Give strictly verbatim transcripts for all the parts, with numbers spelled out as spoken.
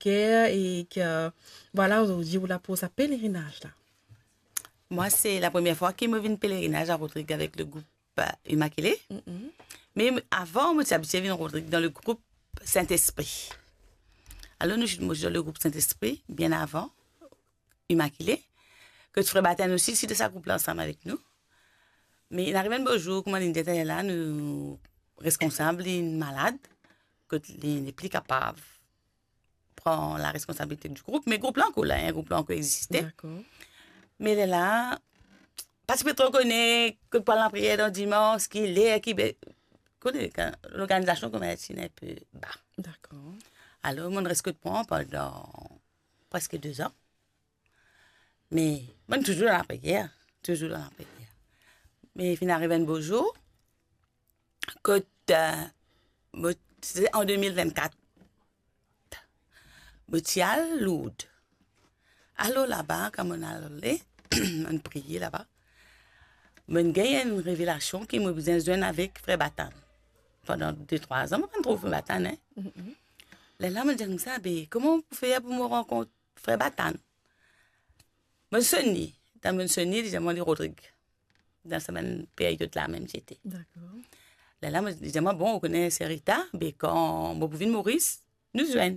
ker e ki, vwala, ozordi ou la pou sa pelerinaz la. Mwa, se la premie fwa ki mo vinn pelerinaz a Rodrig avek le group, euh, Immaculée. Mm-mm. Me avan, mo ti abitie vinn Rodrig dan le group Saint-Esprit. Alor, nou, mo ti dan le group Saint-Esprit, bien avan Immaculée. Kot frer Batan osi ti dan sa group la ansam avek nou. Me inn ariv enn bo zour, kouma linn dir taler la, nou reskonsab linn malad, kot li nepli kapav pran lareskonsabilite di group, me group la ankor la, en, group la ankor existe. Dakor. Me lerla, pa ti pe tro kone kot pou al lapriyer dan dimans, ki ler, ki be-, kone, kan lorganizasion kouma ti enn pe ba. Dakor. Alor, mo'nn res kot mwa pandan preske de zan. Me mo'nn touzour dan lapriyer, touzour dan lapriyer. Me finn ariv enn bo zour, kot, euh, mo, se an de mil vennkat, mo ti al Lourdes. Alor laba, kan mo'nn ale, mo'nn priye laba, mo'nn gagn enn revelasion ki mo bizin zwenn avek frer Batan. Pandan de trwa zan, mo pa'nn trouv frer Batan, en. Mm-mm. Lerla mo'nn dir koumsa, "Be, kouma pou fer pou mo rankont frer Batan?" Mo'nn sonn li. Kan mo'nn sonn li, li dir mwa li Rodrig. Dan sa bann peryod la mem ti ete. Dakor. Lerla mo, li dir mwa, "Bon, ou kone Serita, be kan mo pou vinn Moris, nou zwenn."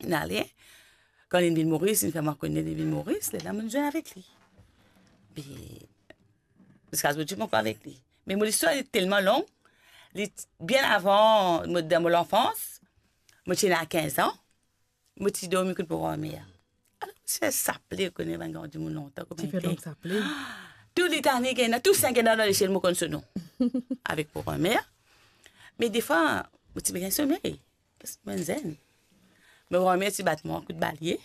Inn ale. Kan linn vinn Moris, linn fer mwa kone linn vinn Moris, lerla mo'nn zwenn avek li. Be, ziska zordi mo ankor avek li. Me mo listwar li telman long, li t-, bien avan mo, dan mo lanfans, mo ti ena kinz an, mo ti dormi kot mo granmer. Alor, mo ti fer saple, ou kone bann gran dimoun lontan, kouma ti fer ete. Donk saple. Tou litani ki ena, tou sink ena dan lesiel, mo konn so nom. Avek mo granmer. Me defwa, mo ti pe gagn somey. Paski mo zenn. Mo granmer ti bat mwa kout balie.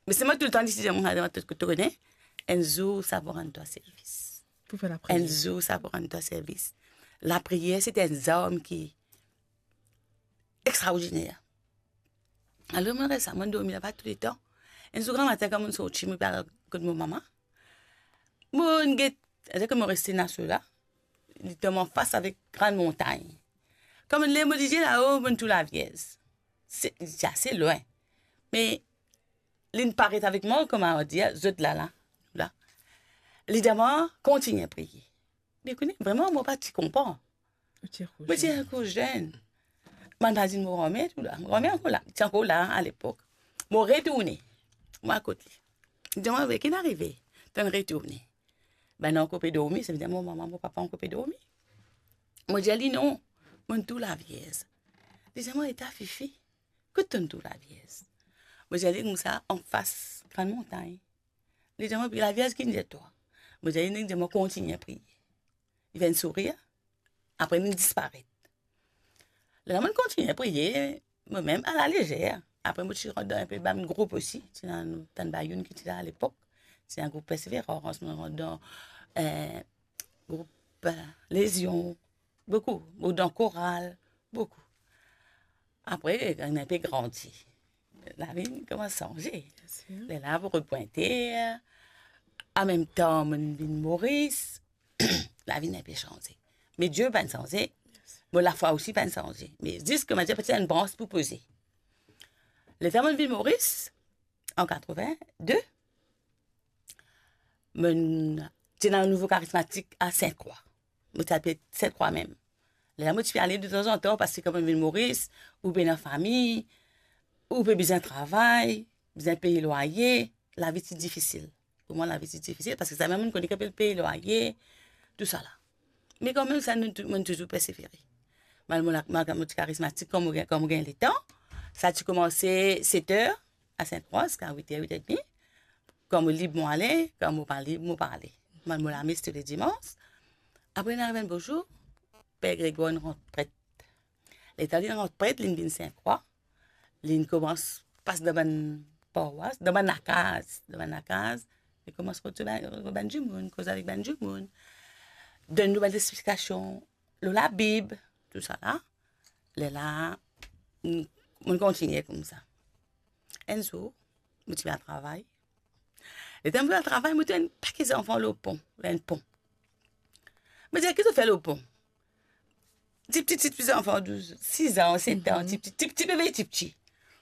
Me selman toultan li ti dir mwa, "Tou, to kone, enn zour sa pou rann twa servis. Pou fer lapriyer. Enn zour sa pou rann twa servis." Lapriyer, se enn zarm ki extraordiner. Alor, mo res la, mo dormi laba touletan. Enn zour gramatin, kan mo'nn sorti, mo pe al kot mo mama. Mo'nn get, savedir ki mo reste Naso la, li tom anfas avek Grann Montagn. Kan mo'nn lev mo lizie lao, mo'nn trouv Lavierz. Se, li ti ase lwin. Me linn paret avek mwa, kouma dir, zot la, la, la. Li dir mwa, "Kontigne priye." Me kone, vreman, mo pa ti konpran. Ou ti ankor zenn. Mo ti ankor zenn. Mo'nn pa dir mo granmer tou la. Mo granmer ankor la. Ti ankor la, alepok. Mo retourne. Mo al kot li. Li dir mwa, "Be, ki'nn arive? To'nn retourne?" Bann ankor pe dormi, savedir mo mama, mo papa ankor pe dormi. Mo dir li, "Non, mo'nn trouv Lavierz." Li dir mwa, "Eta Fifi, kot to'nn trouv Lavierz?" Mo dir li koumsa, "Anfas Grann Montagn." Li dir mwa, "Lavierz ki'nn dir twa?" Mo dir li, "Li dir mwa kontigne priye." Li fer enn sourir, apre linn disparet. Lerla mo'nn kontigne priye, mo mem alalezer. Apre mo ti rant dan enpe bann group osi, ti ena nou tann ba youn ki ti la alepok, ti ena group Perseverance, mo rant dan, eh, group, eh, Lezion, boukou, mo dan koral, boukou. Apre, kan enpe grandi, lavi inn koumans sanze. Bien sir. Lerla pou repwinte, anmemtan mo'nn vinn Moris, lavi inn enpe sanze. Me Die pa'nn sanze, mo lafwa osi pa'nn sanze. Me zis kouma dir, pa ti ena enn brans pou poze. Letan mo'nn vinn Moris, an katrovin-de, mo'nn, ti ena nouvo karizmatik a Sint-Krwa. Mo ti apel Sint-Krwa mem. Lerla mo ti pe ale detanzantan, paski kan mo'nn vinn Moris, ou pe ena fami, ou pe bizin travay, bizin pey lwaye, lavi ti difisil. Pou mwa, lavi ti difisil, paski sa mem mo'nn kone ki apel pey lwaye, tousala. Me kanmem, sa nou tou-, mo'nn touzour persevere. Mal mo la-, mal mo ti karizmatik, kan mo gagn, kan mo gagn letan, sa ti koumanse set er a Sint-Krwa ziska wit er, wit er edmi. Kan mo lib, mo ale, kan mo pa lib, mo pa ale. Mo al mo lames tou le dimans. Apre, inn ariv enn bo zour, Per Gregwar inn rant pret. Letan li rant pret, linn vinn Sint-Krwa, linn koumans pas dan bann parwas, dan bann lakaz, dan bann lakaz, li koumans kot bann, bann dimoun, koz avek bann dimoun, donn nou bann lexplikasion lor Labib, tousala. Lerla, mo'nn, mo'nn kontigne koumsa. Enn zour, mo ti pe al travay. Letan mo pe al travay, mo trouv enn pake zanfan lor pon, lor enn pon. Mo dir, "Ki zot fer lor pon?" Tipti, tipti zanfan, douz, sis an, set an, tipti, tipti bebe, tipti.